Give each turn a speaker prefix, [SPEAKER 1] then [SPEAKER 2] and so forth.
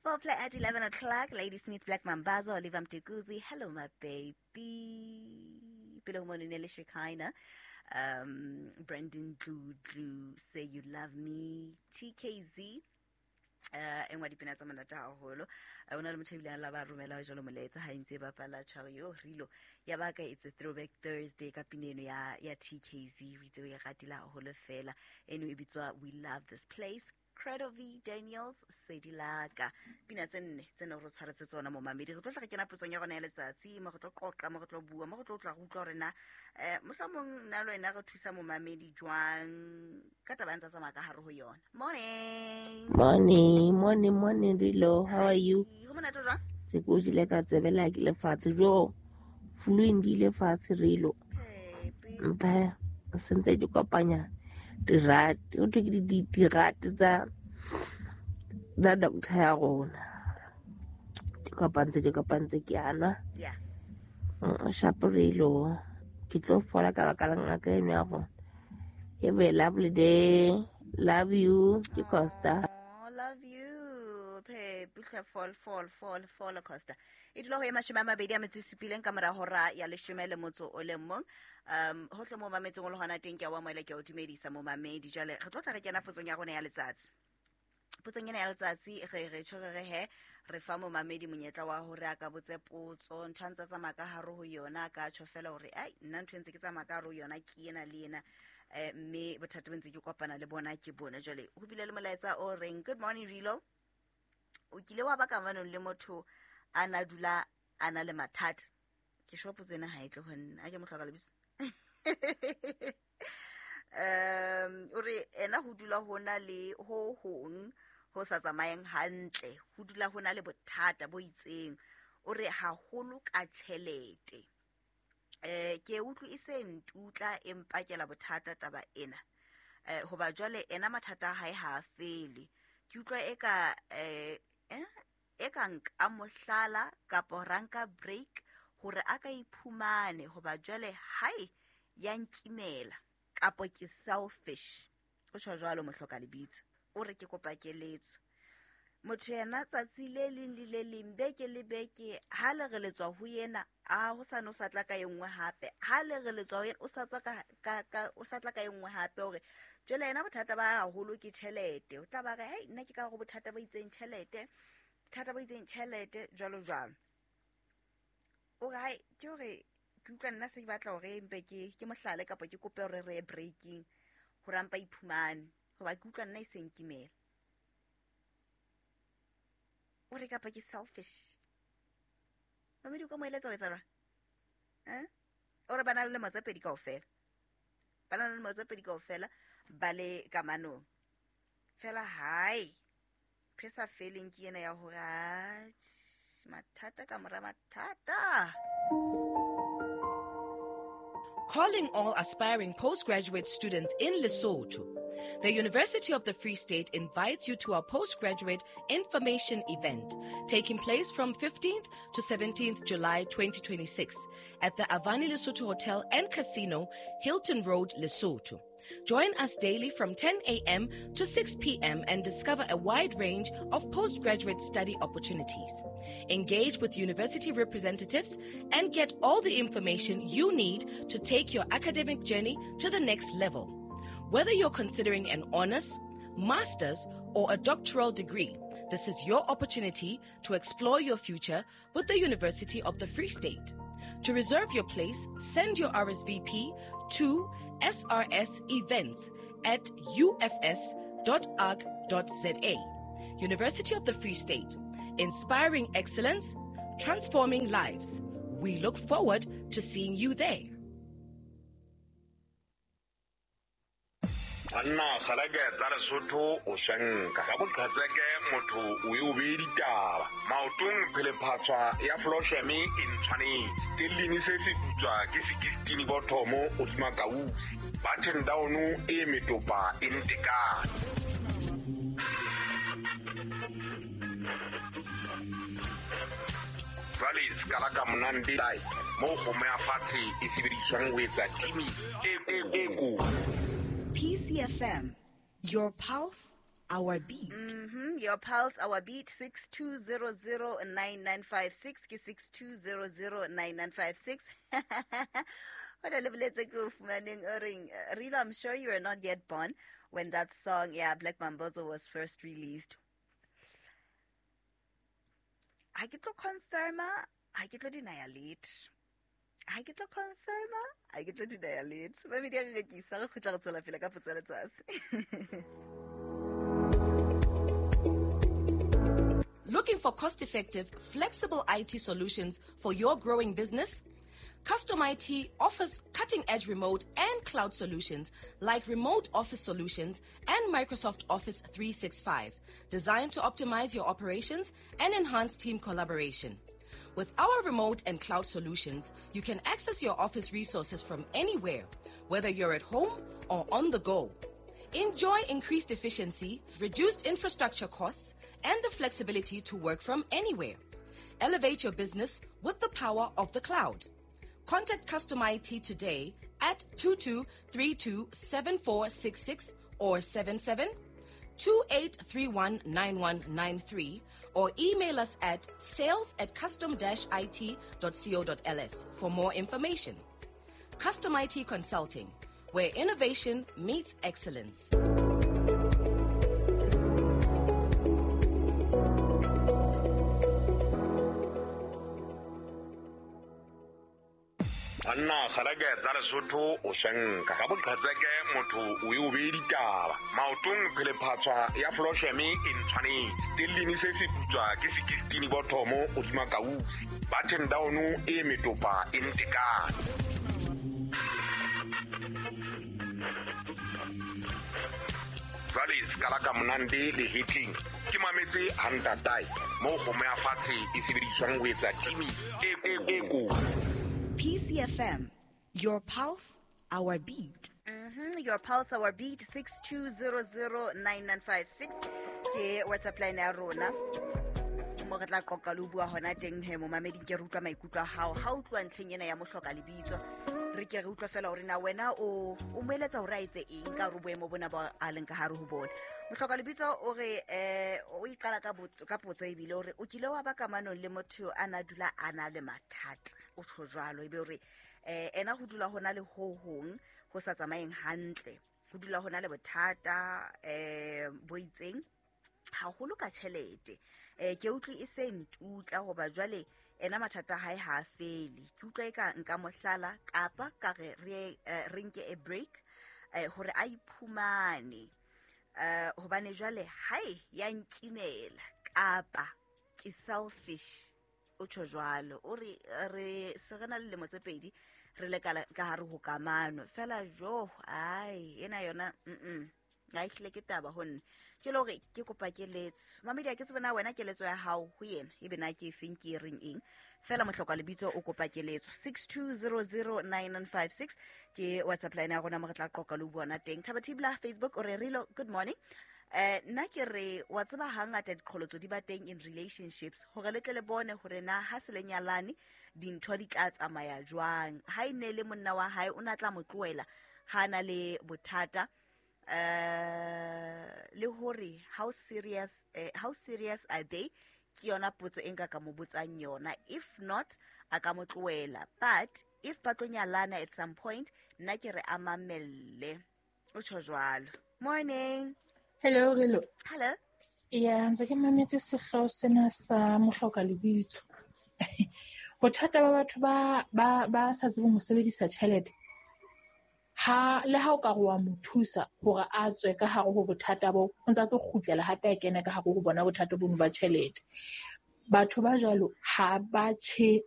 [SPEAKER 1] Four play at 11 o'clock. Lady Smith, Black Mambazo, Oliver Mtukudzi. Hello, my baby. Pele ho mono ne le Shekinah. Brandon Dludlu, Say You Love Me. TKZ. E nngwe ya dipina tsa monate haholo. O na le motho ebile a la ba romela jalo molaetsa ha e ntse e bapala tshwaro yo rilo ya baka. It's a throwback Thursday ka pina eno ya TKZ, o itse o e ratile haholo fela. Eno e bitswa We Love This Place, Credo V Daniels, Sedilaka. Pina tse nne tse ne re tshwaretse tsona mo mamedi. Re tlo tla re kena potsong ya rona ya letsatsi, mo re tlo qoqa, mo re tlo bua, mo re tlo tla re utlwa hore na mohlomong nna le wena re thusa momamedi jwang ka taba ya ntsa tsamaya ka hare ho yona. Morning.
[SPEAKER 2] Morning, morning, morning, Rilo. How are you?
[SPEAKER 1] Ho monate jwang?
[SPEAKER 2] Se ko jile ka tsebela ke lefatshe jo. Flu e ndile fatshe Rilo.
[SPEAKER 1] Happy.
[SPEAKER 2] Mpa sentse di kopanya dirate. Ho thwe ke dirate tsa doctor ya rona. Di kopantse, di kopantse ke a nwa.
[SPEAKER 1] Yeah.
[SPEAKER 2] Sharp Rilo. Ke tlo fola ka baka la ngaka eno ya rona. Have a lovely day. Love you. Ke Costa.
[SPEAKER 1] Oh, love you. Phe, hle, fall, fall, fall, fall, Costa. E dula ho e 27 ka mora hora ya 11. Hohle mo mametseng o le hona teng, ke a o amohela, ke a o dumedisa momamedi. Jwale re tlo tla re kena potsong ya rona ya letsatsi. Potsong ena ya letsatsi re tjho re re he re fa momamedi monyetla wa hore a ka botse potso, ntho a ntse a tsamaya ka hare ho yona, a ka tjho fela hore ai nna ntho e ntse ke tsamaya ka hare ho yona ke ena le ena, mme bothata bo ntse ke kopana le bona ke bona. Jwale ho bile le molaetsa o reng, good morning Rilo, o kile wa ba kamanong le motho a na dula a na le mathata? Ke sure potso ena ha e tle ho nna, a ke mo hloka lebitso. O re ena ho dula ho na le ho hong ho sa tsamayeng hantle, ho dula ho na le bothata bo itseng, o re haholo ka tjhelete. Ke utlwe e se ntutla e mpakela bothata taba ena. Hoba jwale ena mathata a hae ha a fele. Ke utlwa e ka, e ka nka mohlala kapa ra nka break hore a ka iphumane, hoba jwale hae ya nkimela kapo ke selfish. O tjho jwalo mohloka lebitso. O re ke kopa keletso. Motho yena tsatsi le leng le le leng, beke le beke, ha le re letswa ho yena, a ho sa no sa tla ka e nngwe hape. Ha le re letswa ho yena, o sa tswa ka, ka, ka, o sa tla ka e nngwe hape. Hore jwale yena bothata ba haholo ke tjhelete. O tla ba re, hei, nna ke ka hore bothata bo itseng tjhelete, bothata bo itseng tjhelete, jwalo jwalo. O re, hai, ke hore ke utlwa nna se ke batla hore mpe ke mohlale kapa ke kope hore re ye breaking hore a mpa iphumane, hoba ke utlwa nna e se nkimela. O re kapa ke selfish. Mamedi, o ka mo eletsa ho etsa jwang? O re ba na le lemo tse pedi kaofela. Ba na le lemo tse pedi kaofela, ba le kamanong. Fela hae, ntho e sa feleng ke ena ya hore, atjhe, mathata ka mora mathata.
[SPEAKER 3] Calling all aspiring postgraduate students in Lesotho. The University of the Free State invites you to our postgraduate information event taking place from 15th to 17th July 2026 at the Avani Lesotho Hotel and Casino, Hilton Road, Lesotho. Join us daily from 10 a.m. to 6 p.m. and discover a wide range of postgraduate study opportunities. Engage with university representatives and get all the information you need to take your academic journey to the next level. Whether you're considering an honors, master's, or a doctoral degree, this is your opportunity to explore your future with the University of the Free State. To reserve your place, send your RSVP to srsevents@ufs.org.za. University of the Free State, inspiring excellence, transforming lives. We look forward to seeing you there.
[SPEAKER 4] Banna kgaleke tsa Lesotho o shenka ka boqhetseke, motho o e o bee ditaba maotong, phelephatswa ya flosheme e ntshwanetse stellini se se putswa ke 16 bothomo o tsima kausi button down e metopa e ntekane. Jwale se ka la ka monande mo kgomo ya fatshe e sebediswang ho etsa timi e e kotsi.
[SPEAKER 1] PCFM, your pulse,
[SPEAKER 3] our beat.
[SPEAKER 1] Your pulse, our beat, 62009956 ke 62009956. Ho na le boletse ke o fumaneng o reng, Rilo, I'm sure you were not yet born when that song, yeah, Black Mambazo, was first released. Ha ke tlo confirma, ha ke tlo deny letho. Ha ke tlo confirma, ha ke tlo deny letho. Ba media re rekisa, re kgutla re tswela pele ka potso ya letsatsi.
[SPEAKER 3] Looking for cost-effective, flexible IT solutions for your growing business? Custom IT offers cutting-edge remote and cloud solutions like remote office solutions and Microsoft Office 365, designed to optimize your operations and enhance team collaboration. With our remote and cloud solutions, you can access your office resources from anywhere, whether you're at home or on the go. Enjoy increased efficiency, reduced infrastructure costs, and the flexibility to work from anywhere. Elevate your business with the power of the cloud. Contact Custom IT today at 22327466 or 77 28319193 or email us at sales@custom-it.co.ls for more information. Custom IT Consulting, where innovation meets excellence.
[SPEAKER 4] Banna kgalake tsa Lesotho o swenka ka boqhetseke motho o e o bee ditaba maotong phelephatswa ya Flosheme e ntshwanetse stellini se se putswa ke sekistini bothomo hodima kausi button down e metopa e ntekane. Jwale sekala ka monande le hitting ke mametse hantatai mo kgomo ya fatshe e sebediswang ho etsa timi e ko.
[SPEAKER 1] PCFM, your pulse, our beat. Your pulse, our beat, 62009956 ke WhatsApp line ya rona. Mo re tla qoqa le ho bua hona teng he momameding ke re utlwa maikutlo a hao. Ha o utlwa ntlheng ena ya mohloka lebitso, re ke re utlwa fela hore na wena o mo eletsa hore a etse eng ka hore boemo bona ba a leng ka hare ho bona. Mohloka lebitso o re o iqala ka potso ebile o re o kile wa ba kamanong le motho a na dula a na le mathata. O tjho jwalo ebe o re ena ho dula hona le ho hong ho sa tsamayeng hantle. Ho dula hona le bothata bo itseng haholo ka tjhelete. Ke utlwe e se ntutla hoba jwale ena mathata hae ha a fele. Ke utlwa e ka nka mohlala kapa ka re re nke a break hore a iphumane. Hobane jwale hae ya nkimela kapa ke selfish. O tjho jwalo o re re se re na le lemo tse pedi re le ka hare ho kamano fela jo ai ena yona ha e hlile ke taba ho nna. Ke le hore ke kopa keletso mamedi, ke tsebe na wena keletso ya hao ho yena ebe na ke efeng ke e reng eng fela mohloka lebitso o kopa keletso 62009956 ke WhatsApp line ya rona mo re tla qoqa le ho bona teng. Thaba Thibla Facebook o re Rilo, good morning. Nna ke re wa tseba hangata diqholotso di ba teng in relationships hore le tle le bone hore na ha se le nyalane dintho di tla tsamaya jwang. Ha e ne le monna wa hae o na tla mo tlohela ha na le bothata le hore how serious are they ke yona potso e nka ka mo botsang yona. If not a ka mo tlohela, but if ba tlo nyalana at some point nna ke re a mamelle. O tjho jwalo. Morning.
[SPEAKER 5] Hello, hello.
[SPEAKER 1] Hello.
[SPEAKER 5] Ya, ntse ke mametse sehlooho sena sa mohloka lebitso. Bothata ba batho ba sa tsebeng ho sebedisa tjhelete. Ha le ha o ka re wa mo thusa hore a tswe ka hare ho bothata bo, o ntsa tlo kgutlela hape a kene ka hare ho bona bothata bono ba tjhelete. Batho ba jwalo ha ba tjhe